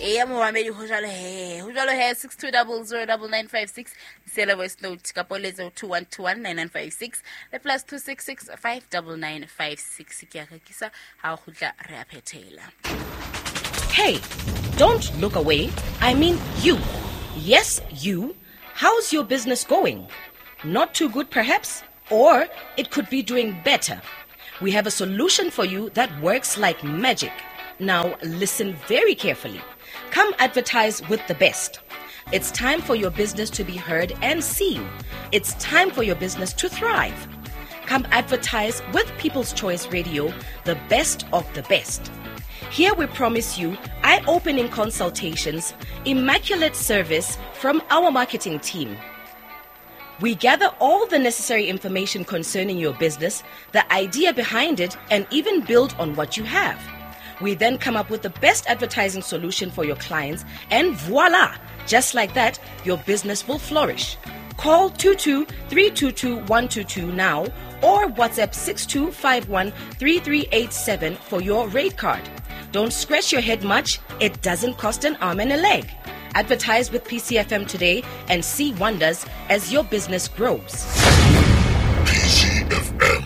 Eya momamedi, ho jwalo he, ho jwalo he. 62009956, siela voice note kapo letse 21219956 le plus 266 59956. Ke a rekisa ha o kgutla re a phethela. Hey, don't look away. I mean you. Yes, you. How's your business going? Not too good, perhaps? Or it could be doing better. We have a solution for you that works like magic. Now, listen very carefully. Come advertise with the best. It's time for your business to be heard and seen. It's time for your business to thrive. Come advertise with People's Choice Radio, the best of the best. Here we promise you eye opening consultations, immaculate service from our marketing team. We gather all the necessary information concerning your business, the idea behind it, and even build on what you have. We then come up with the best advertising solution for your clients, and voila! Just like that, your business will flourish. Call 22 322 122 now or WhatsApp 6251 3387 for your rate card. Don't scratch your head much, it doesn't cost an arm and a leg. Advertise with PCFM today and see wonders as your business grows. PCFM,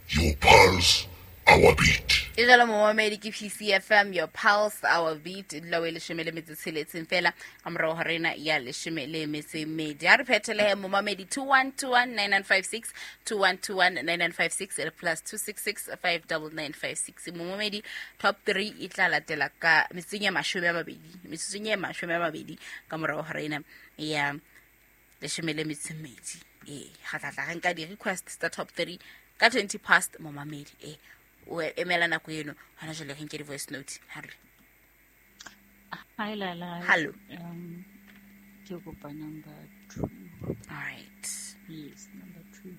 your pulse, our beat. E jalo momamedi, ke PCFM, your pulse, our beat. E dula o e 17 fela ka morago ga rena ya 12. A re phethelehe momamedi, 21219956, 21219956 le plus 266 59956. Momamedi, top 3 e tla latela ka metsotsong ya 20, metsotsong ya 20 ka morago ga rena ya 12. Ee, ga tlatla re nka di-request tsa top 3 ka 20 past, momamedi. Ee, o emela nako eno. Gona jale re nke di-voice note ha re. Hi Lala. Hello. Ke kopa number 2. All right. Yes, number 2.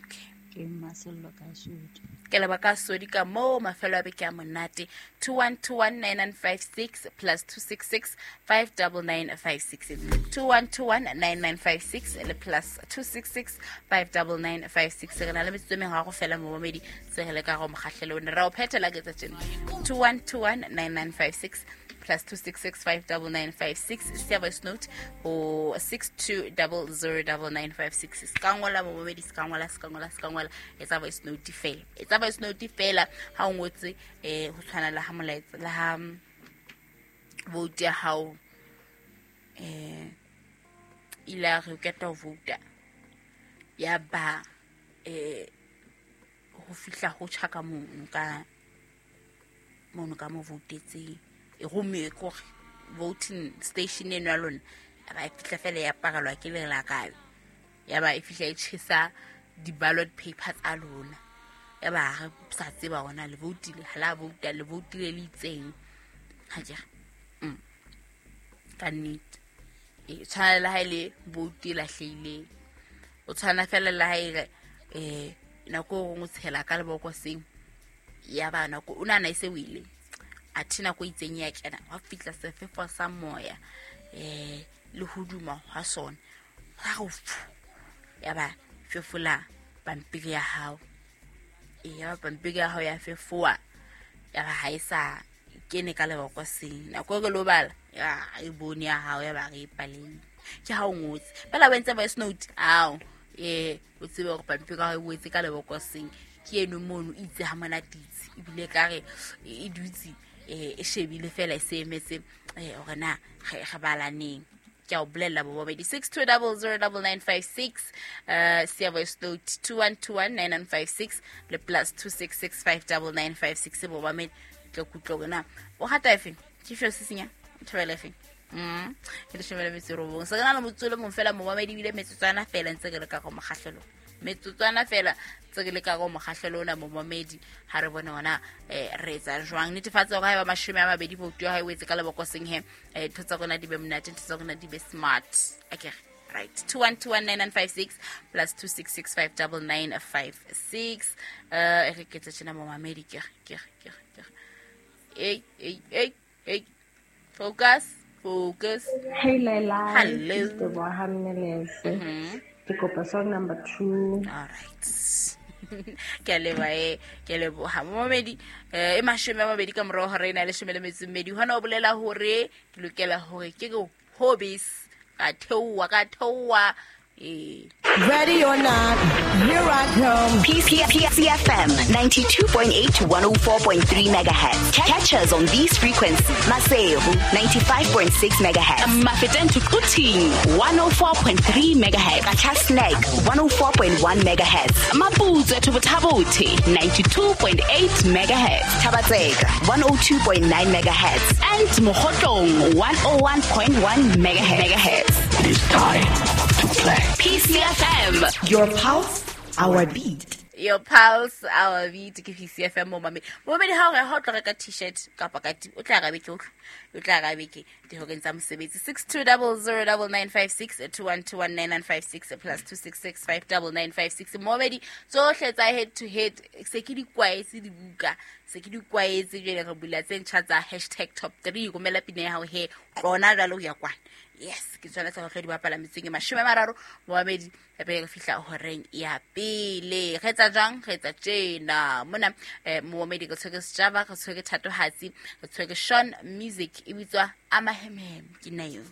Okay. Ke Masello ka Sodi. Ke leba ka Sodi ka moo, mafelo a beke a monate. 21219956 plus 266 59956, 21219956 le plus 266 59956. Re na le metsotso e meraro fela, momamedi, se re le ka go mokgahlelo one ra o phethela ke tsa tjena. 21219956 plus 266 59956, sia voice note ho 62009956. Se ka ngola, momamedi, se ka ngola, se ka ngola, se ka ngola. Etsa voice note fela, etsa voice note fela. Ha o ngotse ho tshwana le ha molaetsa le ha vote ya hao ile ya re o qeta ho vouta, ya ba ho fihla ho tjha ka mono, ka mono ka mo voutetseng, e romme kore voting station eno ya lona, ya ba e fihla fela ya parelwa ke lelakabe, ya ba e fihla e tjhesa di-ballot paper tsa lona, ya ba re sa tseba hore na le voutile ha la vouta, le voutile le itseng. Ha ke re ka nnete e tshwana le ha e le vote e lahlehileng, o tshwana fela le ha e re nako e nngwe o tshela ka lebokoseng, ya ba nako o nahana e se wele, athe nako e itseng ya kena, wa fihla sefefo sa moya le hoduma ha sona, ha re fu, ya ba fefola pampiri ya hao. Ya ba pampiri ya hao ya fefoa, ya ba ha e sa kene ka lebokoseng. Nako e re lo bala, ya e bone ya hao, ya ba re e paleng ke ha o ngotse fela, o entse voice note ao, o tsebe hore pampiri ya hao e wetse ka lebokoseng, ke eno mono e itse ha monate itse, ebile ka re e dutse e shebile fela, e se emetse hore na re balaneng. Ke a o bolella bo babedi, 62009956, sia voice note 21219956 le plus 266 59956. Bo babedi ke kutlwa hore na o rata efeng, ke feo se senya thabela efeng. Ke 19. Se re na le motsotso o le mong fela, momamedi, ebile metsotswana fela ntse re le ka go mokgahlelong, metsotswana fela tse re le ka go mokgahlelo ona, momamedi. Ha re bone ona re etsa jwang. Netefatsa hore haeba 20 vote ya hao e wetse ka lebokoseng he, ntho tsa rona di be monate, ntho tsa rona di be smart akere. Right, 21219956 plus 266 59956. E re ke tse tjena, momamedi, ke re, ke re, ke re, ke re. Ei, ei, ei, ei, focus, focus. Hey Laila. Hello. Ke Teboha Mmelese. Ke kopa song number 2. All right. Ke a leboha e, ke a leboha. Momamedi, e 20 ka morao hora ena ya 12. Hona o bolela hore ke lokela hore ke re hobbies ka theoha ka theoha ee. Ready or not, here I come. PCFM 92.8 to 104.3 megahertz. Catch us on these frequencies. Maseru 95.6 megahertz. Mafeteng to Quthing 104.3 megahertz. Qacha's Nek 104.1 megahertz. Maputsoe to Botha-Bothe 92.8 megahertz. Thaba-Tseka 102.9 megahertz. And Mokhotlong 101.1 megahertz. It is time to play. PCFM. Your pulse, our beat. Your pulse, our beat. Ke PCFM mo mamedi. Momamedi ha o re ha o tlo reka t-shirt kapa ka o tla ra beke o tla ra beke dihoreng tsa mosebetsi 62009956 2121956 plus 266599956. Momamedi tsohle tsa head to head se ke di kwaetse dibuka se ke di kwaetse jwale re bula tse ntjha tsa hashtag top 3 romela pina ya hao he tlona jwale ho ya kwana. Yes, ke tsona tsa go di bapala metseng e 30 momamedi pele re fihla horeng ya pele. Re etsa jwang? Re etsa tjena mona momamedi re tshwere Sjava, re tshwere Thatohatsi, re tshwere Sean Music e bitswa Amahemhem ke nna eo.